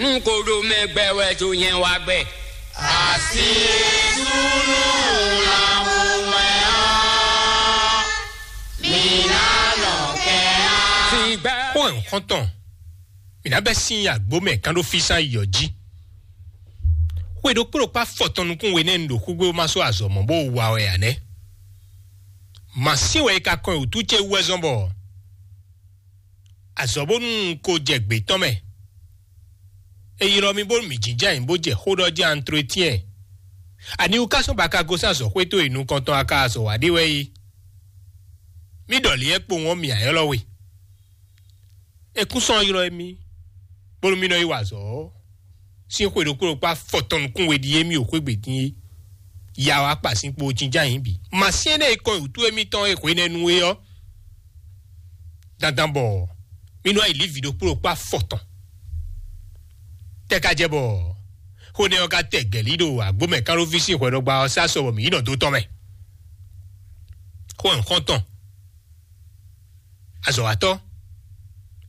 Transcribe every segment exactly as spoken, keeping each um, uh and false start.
Nú ko ɖo mɛ gbɛ wɛ ɖo nyɛ wa gbɛ. Asi súnú lɔmɔ̌ wɛ ɔ́, mǐ ná nɔ kɛ á. Sígbà. Xó ɛ xɔ́ntɔn, mǐ ná bɛ́ sín agbǒ mɛ kán ɖó físán yi ɔ́ jí. Xwe ɖokpó ɖokpó afɔtɔn nukún we nɛ́ un ɖo xúgbé bó ma sɔ́ azɔ̌ mɔ̌ bó wa wɛ ǎ nɛ́. Mǎ sín wɛ è ka kɔn nyi wǔtú ce wú wɛ zɔ́n bɔ azɔ̌ bónú un ko jɛ gbě tɔn mɛ. È ylɔ́ mì bónú mǐ jínjɔ́n ayǐ bó jɛ xó ɖɔ jí antretiyɛn. Aniwú ka sɔ́ ba ka gosín azɔ̌xwé towe nukɔntɔn a ka azɔ̌ wa ɖe wɛ é? Mì ɖɔ lě kpowun ɔ́, mǐ ǎ ylɔ́ we. È kún sɔ́ ylɔ́ émí, bónú mì nɔ yi wa azɔ̌ ɔ́, sín xwe ɖokpó ɖokpó afɔtɔn nukún we ɖíe mì ɖo xwé gbe dín é. Ya wá kpa sín kpo jínjɔ́n ayǐ bǐ. Mǎ syɛ́n énɛ́ e kɔn nyi wǔtu émítɔn e hwenɛ́nu é ɔ́, dandan bɔ mì nɔ yi lǐ vǐ ɖokpó ɖokpó afɔtɔn. Tɛ ka jɛ bɔ xó nɛ́ ɔ́ ka tɛ gɛ̌lí ɖo agbǒmɛ kánɖóví sín hwɛɖɔgba ɔ́ sá sɔ bɔ mǐ yi nɔ dó tɔn mɛ. Xó ɛ xɔ́ntɔn, azɔ̌watɔ́,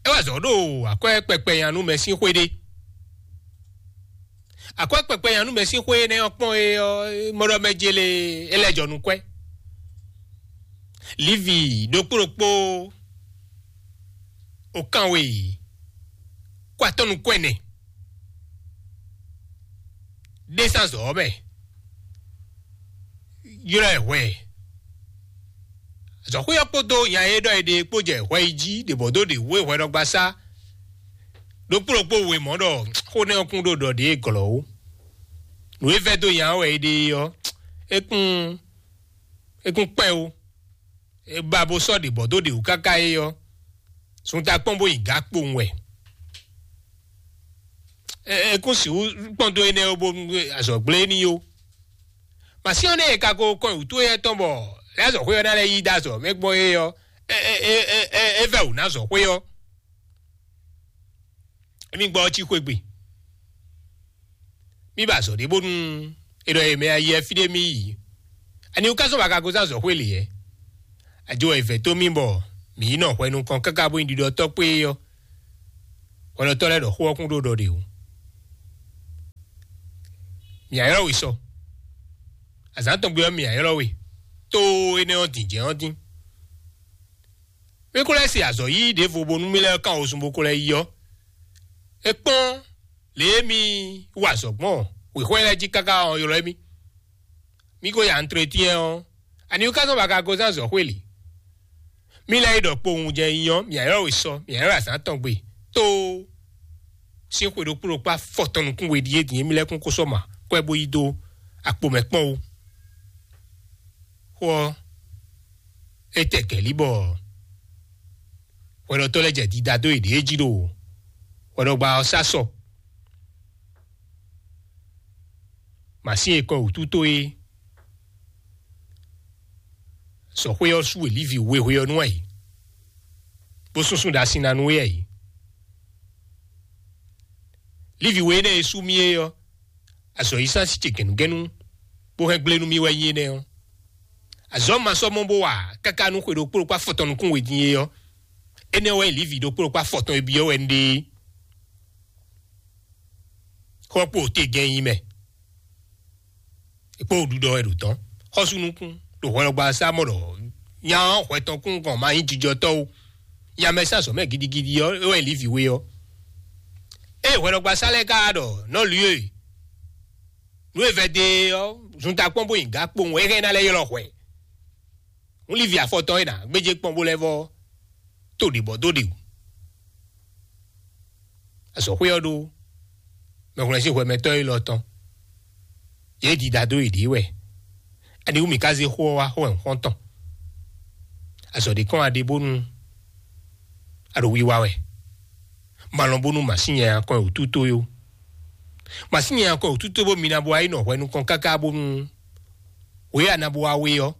é wá azɔ̌ ɖo akwɛ́ kpɛkpɛ nyanú mɛ sín xwé ɖé. Akwɛ́ kpɛkpɛ nyanú mɛ sín xwé énɛ́ ɔ́ kpɔ́n é ɔ́, mɔ ɖɔ mɛ jele é lɛ́ jɔ nukún ɛ. Livi ɖokpó ɖokpó okanwe kó atɔ́ nukún ɛnɛ ɖésán zɔ̌ ɔ́ mɛ, ylɔ́ ɛ hwɛ. Azɔ̌xwé ɔ́ kpódó nya e ɖɔ è ɖe kpó jɛ hwɛ yi jí ɖě bɔ dó ɖě wú é hwɛɖɔgbasá ɖokpó ɖokpó we mɔ̌ ɖɔ xó nɛ́ ɔ́ kún ɖo ɖɔ ɖě glɔ̌ ó. Nǔ e vɛ́ dó nya ɔ́ wɛ è ɖe é ɔ́, é kún é kún kpɛ́n ó. É ba bó sɔ́ ɖě bɔ dó ɖě wú káká é ɔ́, sun ta kpɔ́n bó yi gǎ kpowun wɛ. É kún sixú kpɔ́n dó énɛ́ ó bónú azɔ̌ gblé n'i ó. Mǎsyɔ́n nɛ́ e ka ko kɔn nyi wǔtu éyɛ́ tɔn bɔ é azɔ̌xwé ɔ́ ná lɛ́ yí dó azɔ̌ mɛ gbɔn é ɔ́, é é é é é vɛ́ wǔ ná azɔ̌xwé ɔ́. Émí gbɔ ɔ́ cí xwé gbe. Mí ba azɔ̌ ɖé bónú è ɖɔ è mɛ ayɛ fí ɖé mì yi. Ani wú ká sɔ́ ba ka gosín azɔ̌xwé lě yɛ́? Ajo wɛ è vɛ̌ dó mì bɔ mǐ yi nɔ hwɛ nukɔn káká bó nyí ɖiɖɔtɔ́ kpé é ɔ́, hwɛɖɔtɔ́ lɛ́ɛ ɖɔ xó ɔ́ kún ɖó ɖɔ ɖě wú. Mǐ ylɔ́ we sɔ. Azǎn tɔn gbe ɔ́, mǐ ylɔ́ we. Tó énɛ́ ɔ́ din jɛ́n ɔ́ dín. Mí ko lɛ́ se azɔ̌ yíyí ɖěvo bónú mí lɛ́ kán wozun bó ko lɛ́ yi ɔ́, é kpɔ́n lě e mì wa azɔ̌ gbɔn wěxwɛ́ lɛ́ɛ jí káká ɔ́ ylɔ́ mì. Mí ko yi antretíɛn ɔ́, ani wú ká zɔ́n ba ka gosín azɔ̌xwé lě? Mí lɛ́ yi ɖɔ kpowun jɛ nyi ɔ́, mǐ ylɔ́ we sɔ, mǐ ylɔ́ azǎn tɔn gbe. Tó sín xwe ɖokpó ɖokpó afɔtɔn nukún we ɖíe din e mí lɛ́ kún kó sɔ́ ma kwɛ́ bó yi dó akpo mɛ kpɔ́n ó. Xó ɔ́, é tɛ gɛ̌lí bɔ hwɛɖɔtɔ́ lɛ́ɛ jɛ dida dó yěɖée jí ɖo hwɛɖɔgba ɔ́ sá sɔ. Mǎsin e kɔ wǔtu tó é, sɔxwé ɔ́ sú e Lívi wehwe ɔ́ nú ɛ, bó súnsún ɖo asin ná nú é ɛ. Lívi we énɛ́ e sú mì é ɔ́, azɔ̌yísán sí ce gɛ̌nugɛ́nú bó hɛn gblé nú mì wɛ nyí énɛ́ ɔ́. Azɔ̌ ma sɔ́ mɔ bó wa káká nú xwe ɖokpó ɖokpó afɔtɔn nukún we din é ɔ́, énɛ́ wɛ nyí Lívi ɖokpó ɖokpó afɔtɔn e byɔ́ wɛ un ɖe é. Xɔ kpo te gɛn nyi mɛ, é kpó ɖuɖɔ wɛ ɖo tɔn. Xɔ́sú nukún ɖo hwɛlɔgba sá mɔ ɖɔ nya ɔ́ hwɛ tɔn kún gɔn ma nyí jijɔtɔ́ ó. Nya mɛ sá zɔ̌ mɛ gidigidi ɔ́, é wɛ nyí Lívi we ɔ́. Ée hwɛlɔgba sá lɛ́ɛ ka ɖɔ nɔ́ lǔ e nǔ e vɛdé ɔ́, zunta kpɔ́n bó nyi gǎ kpowun é hɛn ná lɛ́ ylɔ́ hwɛ. Hǔn Lívi afɔtɔn e nǎ gbéjé kpɔ́n bó lɛ́ vɔ tó ɖě bɔ dó ɖe wǔ. Azɔ̌xwé ɔ́ ɖó mɛhwlɛ́n sín hwɛmɛtɔ́ élɔ́ tɔn. Yě dida dó yěɖée wɛ. Aniwú mǐ ka zé xó ɔ́ wá xó wɛ xɔ́ntɔn? Azɔ̌ ɖé kɔn wá ɖe bónú a ɖo wiwa wɛ. Ma lɔn bónú mǎ sín nyanya kɔn wǔtu towe ó. Mǎ sín nyanya kɔn wǔtu towe bó mi ná bó wá yi nɔ hwɛ nukɔn káká bónú wě a ná bó wá wé ɔ́,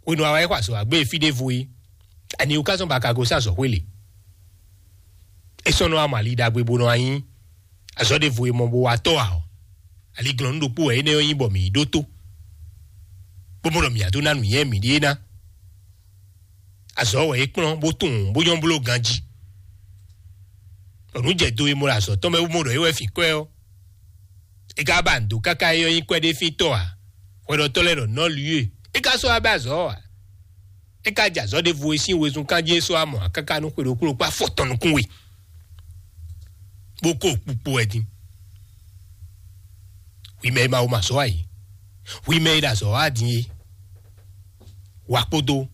hwenu a wá yi xɔ azɔ̌ wá gbé e fí ɖěvo é, aniwú ka zɔ́n bɔ a ka gosín azɔ̌xwé lě? É sɔ́ nɔ wá mɔ ali ɖagbe bó nɔ wá nyí azɔ̌ ɖěvo e mɔ bó wá tɔ́ ǎ ɔ́, aliglɔ́nú ɖokpó wɛ énɛ́ ɔ́ nyí bɔ mǐ yi ɖótó, bó mɔ ɖɔ mǐ wá dó ná nǔnywɛ́ mǐɖée ná. Azɔ̌ wɛ é kplɔ́n bó tunwun bó nyɔ́ bló ganjí. Bɔ nǔ jɛ do e mɔ ɖo azɔ̌ tɔn mɛ bó mɔ ɖɔ é wɛ fin kwɛ́ ɔ́, é ka ba nǔ dó káká é ɔ́ nyí kwɛ́ ɖé fíntɔ́ ǎ. Hwɛɖɔtɔ́ lɛ́ɛ ɖɔ nɔ́ lwǐ e é ka sɔ́ wá bɛ azɔ̌ ɔ́ ǎ. É ka jɛ azɔ̌ ɖěvo e sín wezun kán jí é sɔ́ wá mɔ ǎ káká nú xwe ɖokpó ɖokpó afɔtɔn nukún we, bó kó kpukpu wɛ din. Hwi mɛ e ma wo ma zɔ̌ ǎ é, hwi mɛ e ɖo azɔ̌ wá din é, wǎ kpódó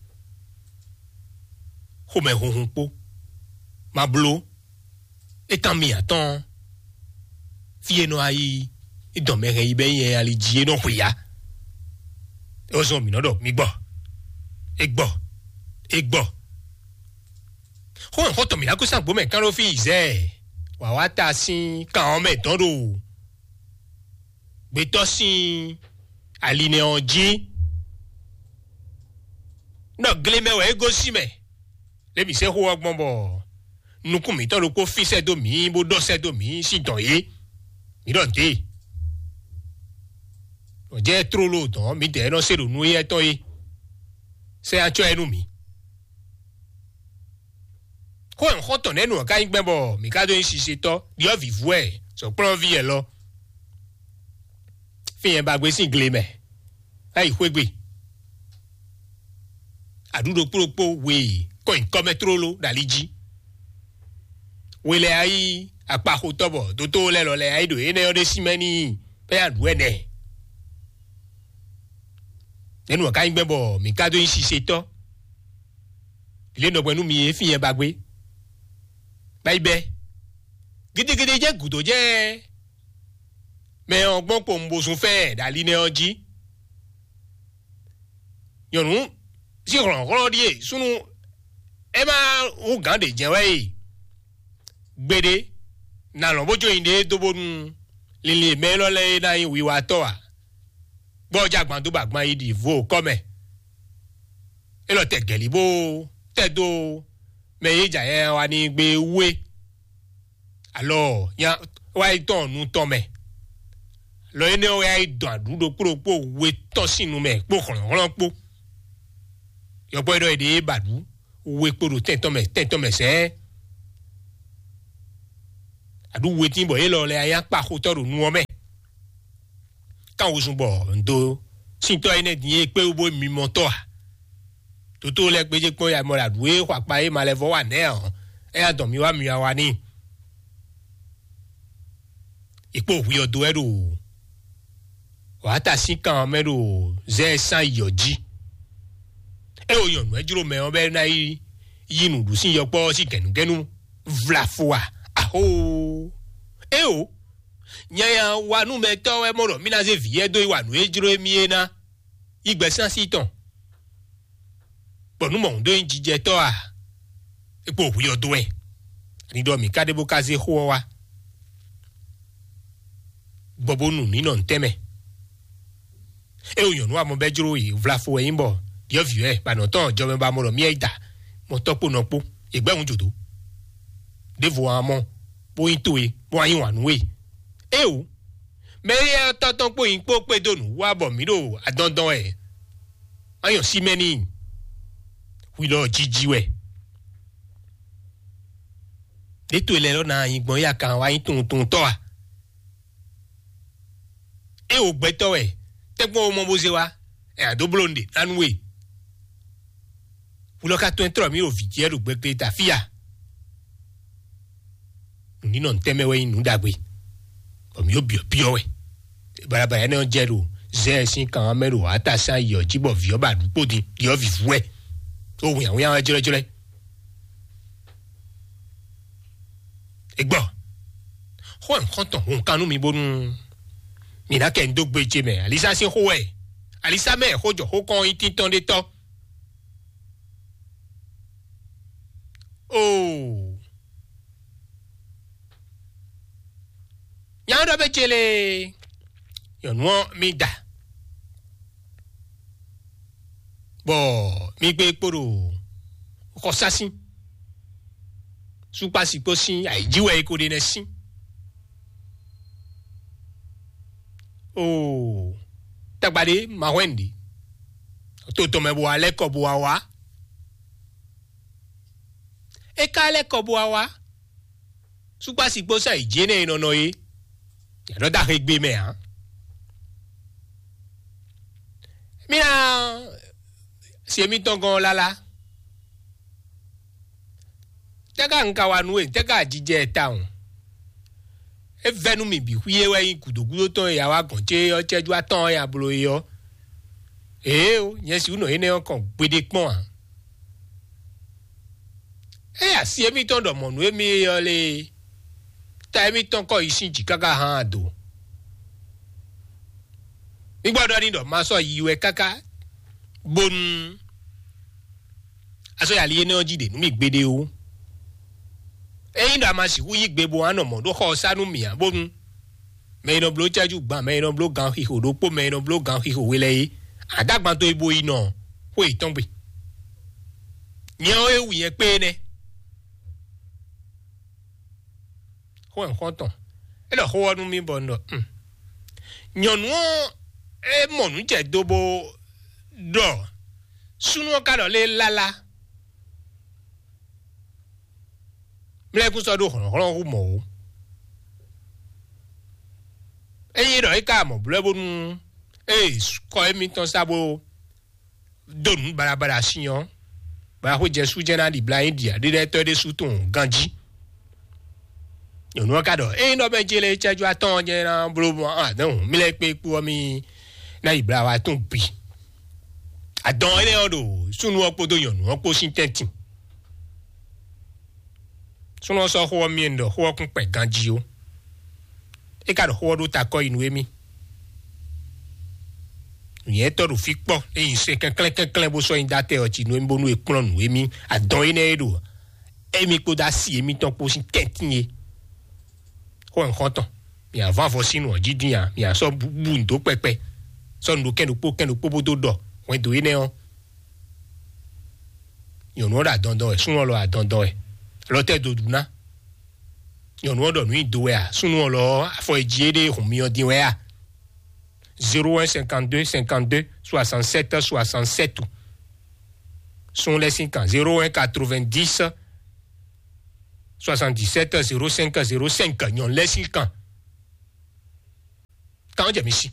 xomɛhunhun kpó, ma bló é kan mi atɔ́ɔ́n. Fí e nɔ wá yí dɔn mɛ hɛn yi bɛ́ nyɛ ali jí é nɔ xwe ya. É wɛ zɔn mǐ nɔ ɖɔ mi gbɔ, é gbɔ, é gbɔ. Xó xɔ́ntɔn mǐ ná kú sín agbo mɛ kán ɖó fí yi zɛ wǎ wá ta sín kan ɔ́ mɛ dɔn ɖo gbetɔ́ sín ali nɛ ɔ́ jí. Nɔ gle mɛ wɛ é gosín mɛ. Lě mǐ se xó ɔ́ gbɔn bɔ nukún mǐtɔn ɖokpó físɛ́ dó mǐ bó ɖɔ sɛ́ dó mǐ sín dɔ̌n é. Mǐ ɖɔ nǔ dě. Nɔ jɛ tlóló dɔ̌n mǐdɛɛ nɔ se ɖo nú éyɛ́ tɔn é. Sɛ́ acɔ́ ɛ nú mǐ. Xó ɛ xɔ́ntɔn nɛ́ nu ɔ́ ka nyí gbɛn bɔ mǐ ka dó nyí sisetɔ́ ɖiɔ́ vǐvú wɛ sɔ̌kplɔ́nví wɛ lɔ. Fí nyɛ ba gbé sín gle mɛ, é yi xwé gbe. Aɖǔ ɖokpó ɖokpó we kɔn nyi kɔ́ mɛ tlóló ɖo ali jí. We lɛ́ɛ wá yí akpaxotɔ́ bɔ dótó lɛ́ɛ lɔ lɛ́ɛ wá yí ɖo énɛ́ ɔ́ ɖésú mɛ n'i bɔ é ná ɖu ɛnɛ. Nɛ̌ nu ɔ́ ka nyí gbɛn bɔ mǐ ka dó nyí sisetɔ́? Lě nɔ gbɛn nú mi e fí nyɛ ba gbé. Bá yi bɛ́. Gidigidi jɛ́n gǔdo jɛ́n mɛ ɔ́ gbɔn kpowun bó zun fɛ́n ɛ ɖo ali nɛ́ ɔ́ jí. Nyɔ̌nu sín hlɔ̌nhlɔ́n ɖíe súnnu é má hú gǎn ɖě jɛ́n wɛ e. Gbeɖé, nǎ lɔn bó jó nyiɖée dó bónú linlin e mɛ élɔ́ lɛ́ɛ é ná nyí wiwatɔ́ ǎ. Gbɔ́ ɔ́ jɛ agban dó bɔ agban yi ɖi vo kɔ́ mɛ. É lɔ tɛ gɛ̌lí bó tɛ dó mɛ e jɛ ayɛ wa n'i gbé wú é. Alɔ nya wá yi tɔn nu tɔn mɛ. Lɔ énɛ́ ɔ́ wɛ wá yi dɔn aɖǔ ɖokpó ɖokpó we tɔn sín nu mɛ kpó hlɔ̌nhlɔ́n kpó. Yɔkpɔ́ e ɖɔ è ɖe é ba ɖǔ we kpo ɖo tɛn tɔn mɛ tɛn tɔn mɛ sɛɛ. Aɖǔ wetín bɔ élɔ́ lɛ́ɛ nya kpa xotɔ́ ɖo nu ɔ́ mɛ. Kan wezun bɔ ndo síntɔ́ énɛ́ din e kpé wú bó mimɔtɔ́ a? Toto lɛ́ɛ gbéjé kpɔ́n ya mɔ ɖo aɖǔ e xɔ akpa e ma lɛ́ vɔ wa nɛ̌ ɔ́, é nya dɔn mi wá mi wá wa n'i. È kpó hwi ɔ́ dó wɛ ɖo wǎta sín kan ɔ́ mɛ ɖo zɛ sán yi ɔ́ jí. É wo nyɔ̌nu ɛ jló mɛ ɔ́ bɔ é ná yi yí nǔɖusi yɔkpɔ́ ɔ́ sín gɛ̌nugɛ́nu vlafo a? Aho! É o, nyanya wa nú mɛtɔ́ wɛ mɔ ɖɔ mí ná zé vǐ yɛ́ dó yi wa nǔ e jló émí é ná yi gbɛ̌ sín así tɔn. Bɔ nú mɔ̌hun dó nyí jijɛtɔ́ a? É kpo hwi ɔ́ dó wɛ. Ani ɖɔ mǐ ka ɖe bó ka zé xó ɔ́ wá, gbɔ bó nu mǐ nɔ ntɛ́nmɛ. É wo nyɔ̌nu amɔ bɛ́ jló yi vlafo wɛ nyí bɔ ɖyɔ̌vǐ wɛ ba nɔ tɔn jɔmɛ ba mɔ ɖɔ mì yi da mɔ tɔ́ kpó nɔ kpó. È gbɛ́ hǔn jǒdó. Ɖěvo ǎ mɔ bó nyí towe bó wá yí wǎn nú we. Éeǒ, mɛ éyɛ́ ɔ́ tɔ́ tɔn kpó nyí kpó kpé dó nǔ wú wá bɔ mǐ ɖo adɔndɔn wɛ. Má nyɔ sí mɛ n'i. Hwi lɔ jiji wɛ. Ɖětɔ́ lɛ́ɛ lɔ ná nyi gbɔn yá kan wá nyí tunwuntunwuntɔ́ a? É wo gbɛtɔ́ wɛ, tɛ́gbɔn wo mɔ bó zé wá, ɛ ǎ dó bló nǔɖé ná nú we. Hwi lɔ ka tɔn tlɔ mǐ ɖo vǐ jí wɛ ɖo gbɛgbɛ ta fí a? Nǔ ní nɔ ntɛ́ mɛ wɛ nyí nǔ ɖagbe, bɔ mǐ ɖo byɔ̌byɔ́ wɛ. Balabala énɛ́ ɔ́ jɛ ɖo zɛ sín kan ɔ́ mɛ ɖo atasán yi ɔ́ jí bɔ vǐ ɔ́ ba ɖu kpó din, ɖi ɔ́ vǐvú wɛ, ɖó wínnyáwínnyá wɛ jlɔ́jlɔ́. È gbɔ xó ɛ xɔ́ntɔn hun kan nú mi bónú mi ná kɛ ń dó gbe ce mɛ. Alisa sín xó wɛ. Alisa mɛ xó jɔ xó kɔn nyí tíntɔ́n ɖé tɔ́. Oo. Nyɔ̌nu ɖɔ bɛ cele, nyɔ̌nu ɔ́ mi da, bɔ mi gbé kpo ɖo xɔsásín, súkpásí kpó sín ayǐjí wɛ é ko ɖe nɛ́ sín. Oo, tagba ɖé ma hwɛ́n nǔɖé. To tɔn mɛ bó wá lɛ́ kɔ bó wá wá. É ka lɛ́ kɔ bó wá wá. Súkpási kpó sɛ́ yi jǐ énɛ́ e nɔ nɔ é, yě nɔ dó axegbe mɛ ǎ. Mí ná se mítɔn gɔ́n ɔ́ lálá. Tɛ́ ka un ka wa nú we? Tɛ́ ka jijɛ ɛ tawun? É vɛ́ nú mì bǐ xwíé wɛ nyí gǔdo gúdo tɔn e ya wá gɔ̌n ce ɔ́ cɛ́jú atɔ́ɔ́n ya bló é ɔ́. Ěo, nyɛ sixú nɔ énɛ́ ɔ́ kɔn gbeɖé kpɔ́n ǎ. Ényí asi émítɔn ɖɔ mɔ̌ nú émí é ɔ́ lé, ta émítɔn kɔ yi sín jǐ káká hán ado. Mí gbɔdɔ ní ɖɔ ma sɔ́ yi wɛ káká bónú a sɔ́ yi ali énɛ́ ɔ́ jí ɖe nú mì gbeɖé ó. Ényí ɖɔ a ma sixú yí gbe bó wá nɔ mɔ̌ ɖó xɔ ɔ́ sá nú mì ǎ, bónú mɛ e nɔ bló cɛ́jú gban, mɛ e nɔ bló gan xixo ɖokpó, mɛ e nɔ bló gan xixo we lɛ́ɛ é, a dó agban towe bo yi nɔ xwé yětɔn gbe. Nyɛ ɔ́, é wú nyɛ kpé nɛ́. Xó wɛ un xɔ́n tɔn. É ɖɔ xó ɔ́ nú mì bɔ un ɖɔ: "Hmm." Nyɔ̌nu ɔ́, é mɔ nǔ jɛ do bó ɖɔ súnnu ɔ́ ka ɖɔ lé lálá. Mlɛ́kún sɔ́ ɖó hlɔ̌nhlɔ́n hú mɔ̌ ó. Ényí ɖɔ é ka mɔ blɛ́ bónú é kɔ émítɔn sá bó dó nǔ baɖabaɖa sin ɔ́, bɔ axwé jɛ sú jɛ́n ná ɖi bla nyí ɖi aɖíɖɛtɔ́ ɖésú tɔn ganjí. Nyɔ̌nu ɔ́ ka ɖɔ: "Ényí nɔ bɛ jele cɛ́jú atɔ́ɔ́n jɛ́n ná bló mɔ adɔn mí lɛ́ɛ kpé kpó ɔ́, mí ná yi bla wa tɔn bǐ." Adɔn énɛ́ ɔ́ ɖo súnnu ɔ́ kpódó nyɔ̌nu ɔ́ kpó sín tɛ́ntin. Súnnu ɔ́ sɔ́ xó ɔ́ myɛ ɖɔ xó ɔ́ kún kpɛ ganjí ó. É ka ɖo xó ɔ́ ɖó takɔ́ yi nú émí. Nyɛ̌tɔ́ ɖo fí kpɔ́, é nyi se kɛnklɛ́n kɛnklɛ́n bó sɔ́ nyi dó atɛ ɔ́ jí nú émí bónú è kplɔ́n nǔ émí adɔn énɛ́ e ɖo émí kpódó asi émítɔn kpó sín tɛ́ntin é. Xó ɔ́ nyí xɔ́ntɔn. Mǐ á vɔ́ avɔ sín nǔ ɔ́ jí dín ǎ, mǐ á sɔ́ bú nǔ dó kpɛkpɛ, sɔ́ nǔ ɖó kɛ́n ɖokpó kɛ́n ɖokpó bó dó ɖɔ hwɛndo énɛ́ ɔ́. Nyɔ̌nu ɔ́ ɖo adɔndɔn wɛ, súnnu ɔ́ lɔ adɔndɔn wɛ, lɔ tɛ́ dó ɖu ná. Nyɔ̌nu ɔ́ ɖɔ nǔ nyi do wɛ a? Súnnu ɔ́ lɔ afɔ e jí éɖée hun myɔ din wɛ a? Zéro un cinquante-deux cinquante-deux soixante-sept soixante-sept. Sun lɛ́ sín kan: zéro un quatre-vingt-dix soixante-dix-sept zéro cinq zéro cinq. Nyɔ̌nu lɛ́ sín kan. Kan jɛ mi sí.